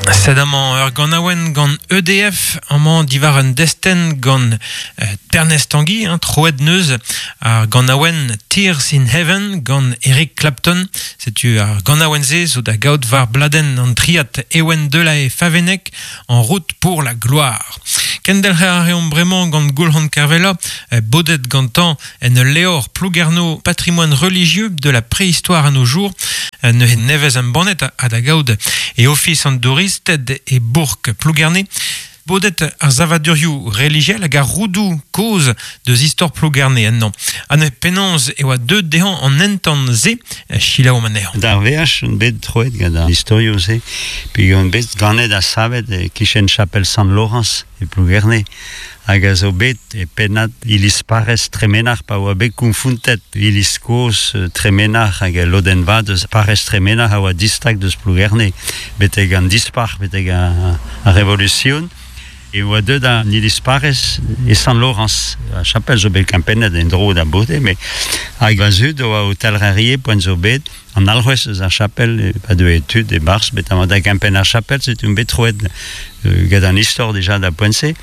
Sed amañ ur ganaouenn gant EDF, amañ diwar un destenn gant Bernez Tanguy, hein, troet neuz ar ganaouenn Tears in Heaven gant Eric Clapton. Setu ar ganaouenn-se zo da gaout war bladenn an triad Ewen Delahaye Favennec En route pour la gloire. Kendelc'her a reomp bremañ gant Goulc'han Kervella, bodet gantañ en ul levr Plouguerneau patrimoine religieux de la préhistoire à nos jours, neuze nevez embannet ha da gaout e ofis an douristed e bourk Plougerne. Bodet ar savadurioù relijiel hag ar roudoù kozh deus istor Plougerne ennañ. Ha neuze penaos e oa deuet dezhañ an entan-se, selaouomp anezhañ. D'ar veaj on bet troet gant an istorioù-se, peogwir on bet ganet ha savet e-kichen chapel Sant-Laorañs e Plougerne, hag a zo bet e pennad iliz parrez Tremenac'h pa oa bet konfontet iliz kozh Tremenac'h hag al lodenn vat eus parrez Tremenac'h a oa distag deus Plougerne betek an Dispac'h, betek ar Revolusion. E oa deuet an iliz parrez e Sant-Laorañs. Ar chapel zo bet kempennet en-dro da bode, met hag va zud a oa o talc'her poent zo bet an alc'hwez eus ar chapel pa deue tud e-barzh bet amañ da gempenn ar chapel, setu on bet troet gant an istor dija da poent-se.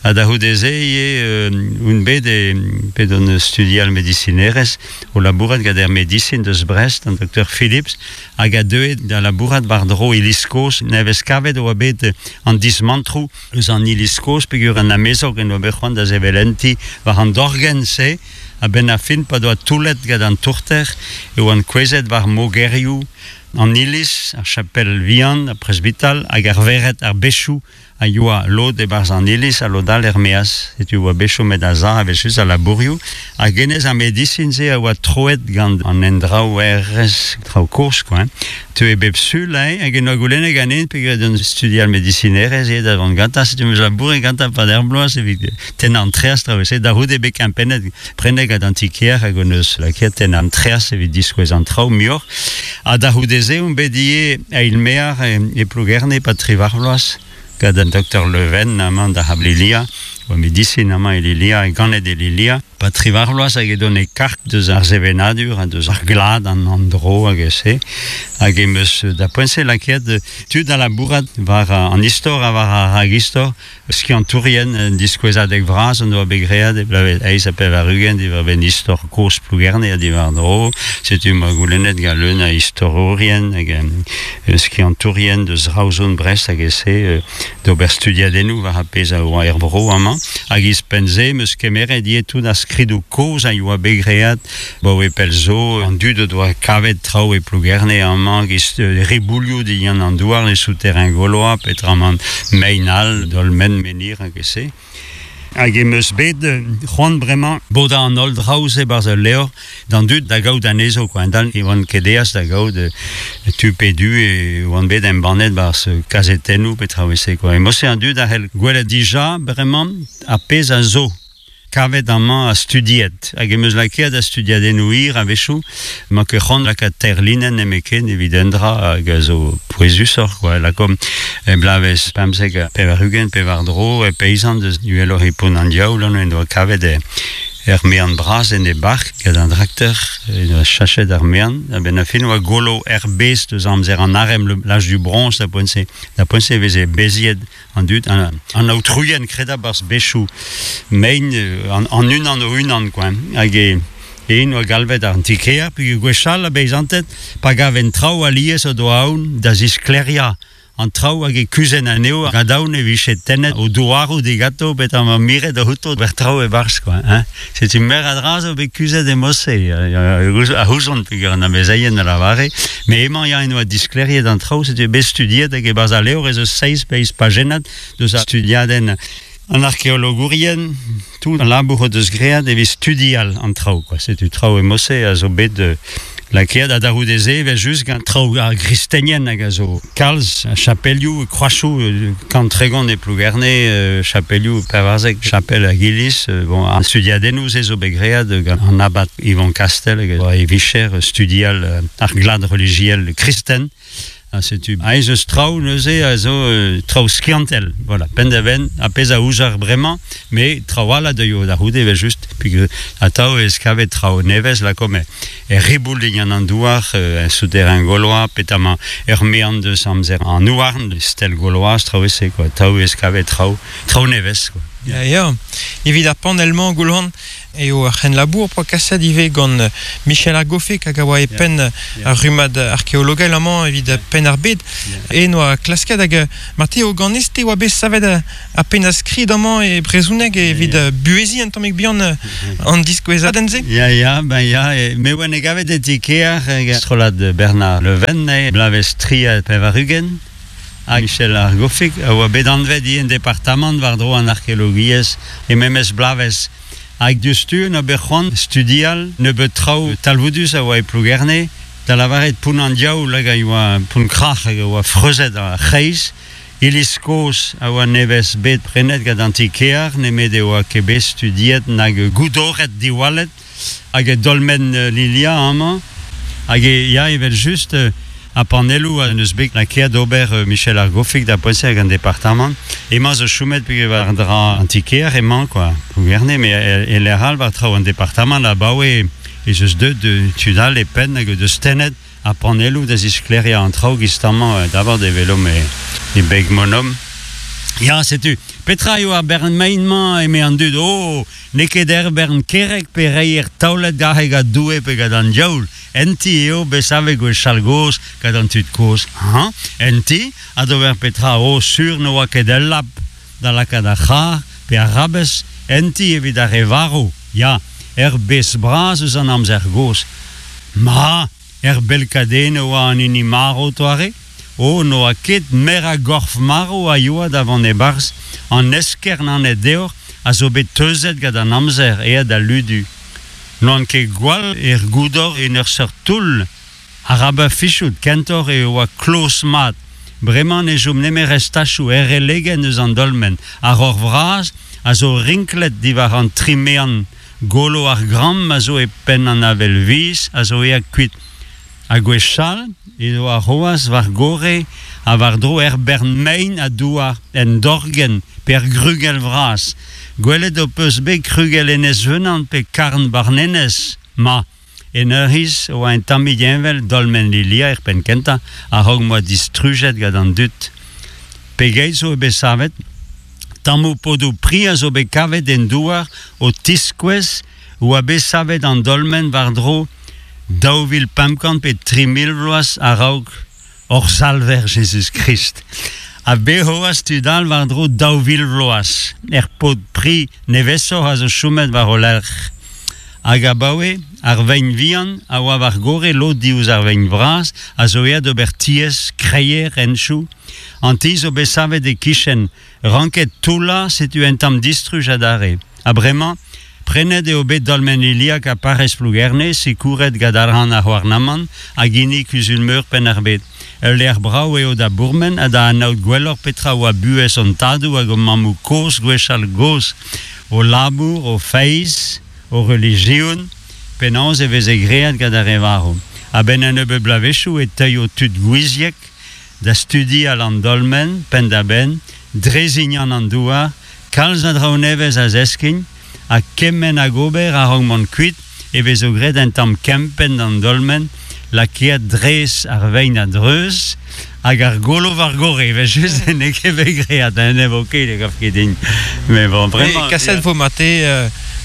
Ha da c'houde-se ivez on bet e bet on studial medisinerezh o labourat gant ar medisin deus Brest, an doktor Philips, hag a deue da labourat war-dro iliz kozh. Nevez kavet e oa bet an dismantroù eus an iliz kozh peogwir an amezog en doa bet c'hoant da sevel un ti war an dorgenn-se. A-benn ar fin, pa doa toullet gant an tourter, e oant kouezhet war mogerioù an iliz, ar chapel vihan, ar presbital hag ar vered, ar bezhioù a yoa lod e-barzh an iliz ha lod all er-maez. Setu oa bet chomet a-sav evel-just al labourioù. Hag hennezh ar medisin-se a oa troet gant an endraouerezh traoù kozh quoi. Hein. Teue bep sul hein, hag en doa goulennet ganin peogwir d'un studial medisinerezh eo da vont gantañ. Setu 'm eus labouret gantañ 'pad ur bloaz evit tennañ an treaz traoù-se. Da c'houde bet kempennet prenet gant an ti-kêr hag hon eus lakaet tennañ an treaz evit diskouez an traoù muioc'h. Ha da c'houde-se on bet ivez eil-maer e Plougerne e-pad triwac'h vloaz gant an doktor Leven amañ da C'hablilia, oa medisin amañ e Lilia, ganet e Lilia. Pa triwac'h vloaz hag edon e karg deus ar sevenadur ha deus ar glad an endro hag se. Hag em eus da poent-se lakaet tud da labourat war an istor ha war ar ragistor Skiantourien un diskouezadeg vras en doa bet graet e bloavezh 88 diwar-benn istor kozh Plougerne ha diwar-dro. Setu ma goulennet gant leun a istorourien hag skiantourien deus Raozon, Brest hag e-se d'ober studiadennoù war ar pezh a oa er vro amañ. Hag ouzhpenn-se 'm eus kemeret ivez tout ar skridoù kozh a yoa bet graet Abaoe pell zo, an dud o doa kavet traoù e Plougerne amañ, giz riboulioù dindan an douar, les souterrains gaulois, petramant mein all, dolmen, menhir hag e-se. Hag em eus bet c'hoant bremañ bodañ an holl draoù-se 'barzh ul levr d'an dud da gaout anezho quoi. Endal e oan ket aes da gaout tu pe du e oan bet embannet 'barzh kazetennoù pe traoù e-se quoi. E mod-se an dud a c'hell gwelet dija bremañ ar pezh a zo. Kavet amañ ha studiet hag em eus lakaet da studiadennoù hir a-wechoù. 'Ma ket c'hoant lakaat teir linenn nemetken evit un dra hag a zo pouezusoc'h quoi. Lakaomp e bloavezh 95 pe war-dro e peizant deus uheloc'h e Pont an Diaoul en doa kavet e er mean bras en e bark gant an trakteur en doa chachet ar mean a-benn ar fin oa golo er bez deus amzer an arem l'âge du bronze da poent-se da poent-se e veze beziet An dud, an aotrouien kredabl bechoù mein an unan o-unan quoi. Hag e en oa galvet an ti-kêr peogwir gwechall a beizanted pa gavent traoù alies o doa aon da zisklêriañ an traoù hag e kuzhent anezho gant aon e vije tennet o douaroù diganto betek ma miret outo ober traoù e-barzh quoi hein. Setu meur a dra zo bet kuzhet e mod-se a ouzon peogwir an amezeien a lavare met emañ ya en doa disklêriet an traoù setu bet studiet hag e-barzh al levr ez eus seizh pe eizh pajennad deus ar studiadenn an arkeologourien tout al labour o deus graet evit studial an traoù quoi setu traoù e mod-se a zo bet lakaet ha da c'houde-se evel-just gant traoù ar gristenien hag a zo kalz a chapelioù, kroachoù, 130 e Plougerne, chapelioù 14, chapel hag iliz. Bon, ar studiadennoù-se zo bet graet gant an abad Yvon Castel hag e vicher studial ar glad relijiel kristen. Ha setu aes eus traoù neuze a zo traoù skiantel, voilà, penn-da-benn, ar pezh a ouzer bremañ, met traoù all a deuio da c'houde evel-just, peogwir atav e vez kavet traoù nevez, lakaomp er riboul digant an douar, en souterrain gaulois, petamant er mean deus amzer an houarn, stel gauloise, traoù e-se, quoi, atav e vez kavet traoù, traoù nevez, quoi. Ya, ya. Evit ar panell-mañ, Goulc'han, eo ar c'henlabour poa kaset ivez gant Michel ar Goffeg hag a oa e penn ar rummad arkeologel amañ evit penn ar bed. E noa klasket hag marteze eo ganez-te oa bet savet ar pennad-skrid amañ e brezhoneg evit buheziñ un tammig bihan an diskouezadenn-se. Ya, ya, ben ya, me oa ne gavet e ti-kear strollad Bernard Le Ven, bloavezh 83. Ha Michel ar Goffig a oa bet anvet ivez en departamant war-dro an arkeologiezh e memes bloavezh. Hag diouzhtu en ober c'hoant studial nebeut traoù talvoudus a oa e Plougerne, da lavaret Pont an Diaoul hag a oa Pont Krac'h hag a oa freuzet ar c'hreiz, iliz kozh a oa nevez bet prenet gant an ti-kear nemet e oa ket bet studiet nag goudoret diwallet Hag e dolmen Lilia amañ. Hag e, ya, evel-just, ar panelloù a neus bet lakaet ober Michel ar Goffig da poent-se hag an departamant. Emañ zo chomet peogwir war dra an ti-kêr emañ, quoi, Plougerne, met e lec'h all war traoù an departamant abaoe ez eus deuet tud all e penn hag o deus tennet ar panelloù da zisklêriañ an traoù giz-tamañ d'abord e welomp e beg Monom. Ya, setu, petra eo ar bern mein-mañ, eme an dud, oh, n'eo ket er bern kerreg pe reier taolet aze gant Doue pe gant an diaoul, en ti eo bet savet gwechall gozh gant an tud kozh, hañ, en ti, ha d'ober petra, oh, sur ne oa ket ul lab da lakaat ar c'harr pe ar rabez en ti evit ar re varv, ya, er bez bras eus an amzer gozh. Ma! Er belkadenn e oa an hini marv 'toare? O, n'oa ket mer a gorf marv a yoa da vont e-barzh an eskern anez deoc'h a zo bet teuzet gant an amzer aet da ludu. N'oan ket gwall er goudor en ur seurt toull. Arabat fichout, kentoc'h e oa kloz-mat. Bremañ ne chom nemet restachoù er relegenn eus an dolmen. Ar roc'h vras a zo rinklet diwar an tri mean. Golo ar gramm a zo e penn an avel viz a zo aet kuit. Ha gwechall edo ar c'hoazh war gorre ha war-dro er bern mein ha douar, en dorgenn pe er grugell vras. Gwelet ho peus bet krugell Enez-Venan pe karn Barnenez? Ma! En ur c'hiz e oa un tammig heñvel dolmen Lilia er penn-kentañ a-raok m'oa distrujet gant an dud. Pegeit zo bet savet? Tammoù podoù pri a zo bet kavet en douar o tiskouez oa bet savet an dolmen war-dro 2500 pe 3000 vloaz a-raok hor Salver Jezuz-Krist. Ha bet c'hoazh tud all war-dro 2000 vloaz er pod pri nevesoc'h a zo chomet war o lerc'h. Hag abaoe, ar vein vihan a oa war gorre lod diouzh ar vein vras a zo aet d'ober tiez, kreier, henchoù. An ti zo bet savet e-kichen Ranket toullañ, setu un tamm distruj adarre. Ha bremañ, prenet eo bet dolmen Iliag ha parrez Plougerne, sikouret gant arc'hant ar c'houarnamant hag hini Kuzul-meur Penn-ar-Bed. Ul lec'h brav eo da bourmen ha da anaout gwelloc'h petra oa buhez hon tadoù hag hon mammoù-kozh gwechall-gozh, o labour, o feiz, o relijion, penaos e veze graet gant ar re varv. A-benn un nebeud bloavezhioù e teuio tud gouiziek da studial an dolmen penn-da-benn, drezignant an douar, kalz a draoù nevez a zeskin, ha kement hag ober a-raok mont kuit e vezo graet un tamm kempenn d'an dolmen lakaet dres ar vein a-dreuz hag ar golo war gorre evel-just n'eo ket bet graet hein, ne vo ket ne gav ket din mais bon vraiment kaset vo mate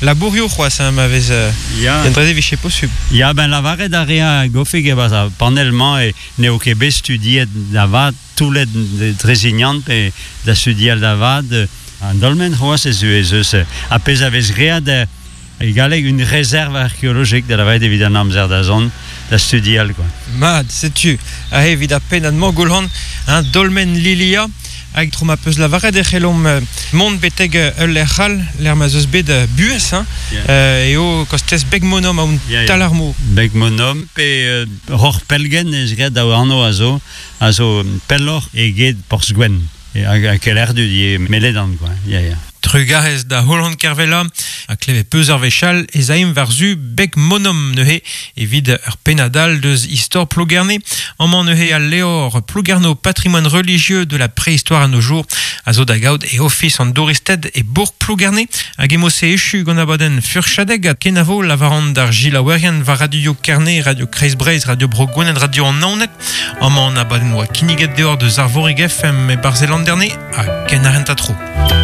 labourioù c'hoazh hein, ma vez ya. Un dra-se vije posubl. Ya ben lavaret a rea Gofig e-barzh ar panell-mañ e N'eo ket bet studiet da vat toullet Drezignant pe da studial da vat an dolmen c'hoazh ez ez eus ar pezh a vez graet e galleg une réserve archéologique da lavaret evit an amzer da zont da studial quoi. Mat, setu aze evit ar pennad-mañ Goulc'han, un dolmen Lilia. Hag tro ma peus lavaret e c'hellomp mont betek ul lec'h all, lec'h ma 'z eus bet buhez, hein, eo kostez Beg-Monom a Talarmo. Beg-Monom pe Roc'h Pellgent ez graet daou anv a zo, a zo pelloc'h eget Porzh-Gwenn hag Kelec'hdu ivez, Meledan quoi, ya ya. Trugarez da Holland Kervella a kleve peus ar wechall ez aim war-zu beg monom neuze evit ur pennad deus istor Plougerne. Amañ neuze al levr Plouguerneau patrimoine religieux de la préhistoire à nos jours a zo da gaout e ofis an douristed e bourg Plougerne hag emo se echu gant abadenn furchadeg a kenavo lavaran d'ar gilaouerien war Radio Kerne, Radio Kreiz Breizh, Radio Bro Gwened, Radio an Naoned. Amañ an abadenn oa kinniget deoc'h deus Arvorig FM e Barzelanderne ha ken ar tro.